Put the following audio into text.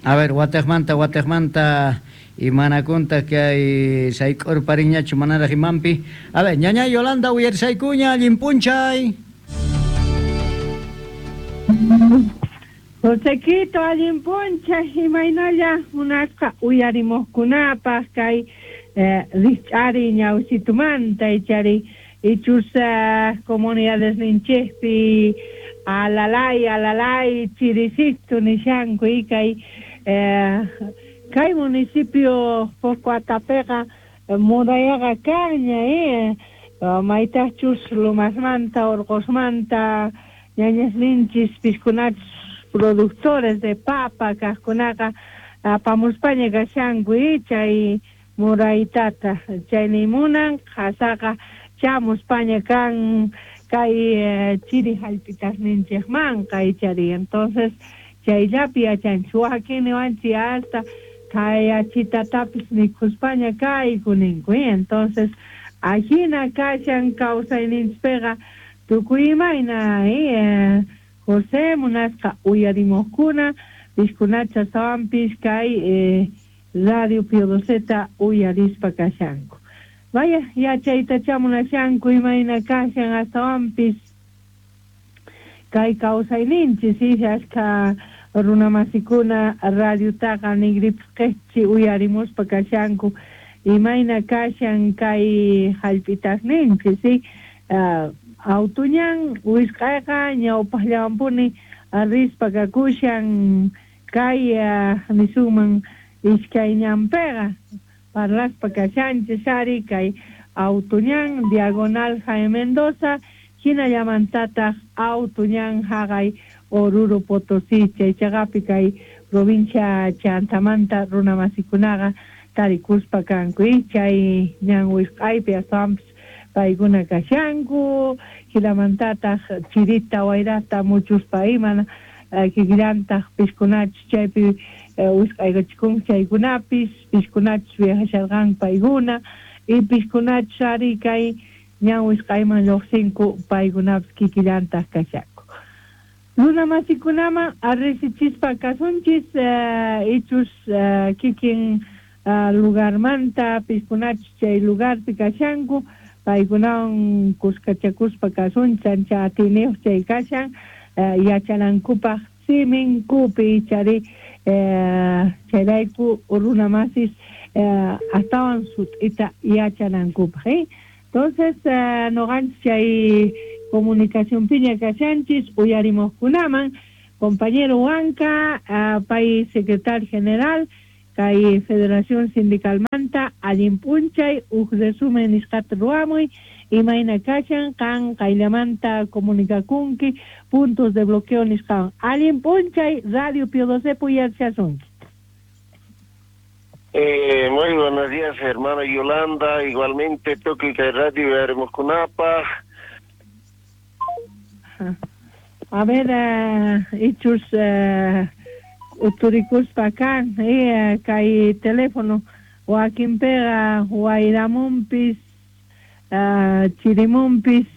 A ver, watejmanta, watejmanta imanakuntaj kay sayk'urparinñachu manaraj imanpi. A ver, ñaña Yolanda uyarisaykuña, allin p'unchay. Josequito, allin p'unchay, imaynalla munasqa uyarimuqkunapaq kay rijch'ariy ñawsitumanta ichari ichus comunidadesninchikpi alalay alalay chirisitu nishanku y kay kay municipio Pocoatapeqa murayaqa kanña maytaqchus Lomasmanta Orqosmanta ñañasninchis piskunachus productores de papa kaqkunaqa apamuspaña kashanku chay muraytata chayni munan qhasaqa chamuspaña kan kay chiri hallp'itasninchikmanqa ichari entonces chayllapi yachanchik wakin niwanchik hasta khayachitatapis mikhuspaña kayku ninku entonces ajina kashan kawsayninchikpiqa tukuy imayna José munasqa uyarimuqkuna pishkunacha astawanpis kay Radio Pio Doceta uyarispa kashanku. Vaya yachaytacha munashanku imayna kashan astawanpis kay kawsayninchis ashkha runamasikuna radiotaqa ningripis uyarimuspa kashanku imayna kashan kay hallp'itasninchis autoñan wisq'ayqa ñawpaqllawanpuni rispa kakushan kay nisunman iskay ñanpiqa parlaspa kashanchis ari kay autoñan diagonal Jaime Mendoza hinallamantataq autoñan haqay Oruro Potosí chay chaqapi kay provincia Chantamanta runamasikunaqa tarikuspa kanku chay ñan wisq'aypi astawanpis paykuna kashanku hinamantataq chirita wayrata muchuspa ima kikillantaq piskunachus chaypi wisq'aykachikunku chaykunapis piskunachus viajasharqanku paykuna y piskunachus ari kay ñan wisq'ayman lluqsinku paykunapis kikillantaq kashanku. Runamasikunaman riqsichispa kasunchis ichus kikin lugarmanta piskunachus chay lugarpi kashanku paykunawan kuskachakuspa kasunchis ancha atiyniyuq chay kashan yachanankupaq siminkupi ichari chayrayku runamasis astawan sut'ita yachanankupaq. Entonces noqanchis chay comunicacionpiña kashanchis uyarimuqkunaman compañero Huanca pay secretario general kay Federación Sindicalmanta allin p'unchay uj resumen nisqata ruwamuy imayna kashan qan qayllamanta comunicakunki puntos de bloqueo nisqawan allin p'unchay Radio Pio Doce uyarishasunki. Muy buenos días, hermana Yolanda. Igualmente, tukuy kay radio uyarimuqkunapaq. A ver, ichus uturikuspa kan kay teléfono wakinpiqa wayramunpis chirimunpis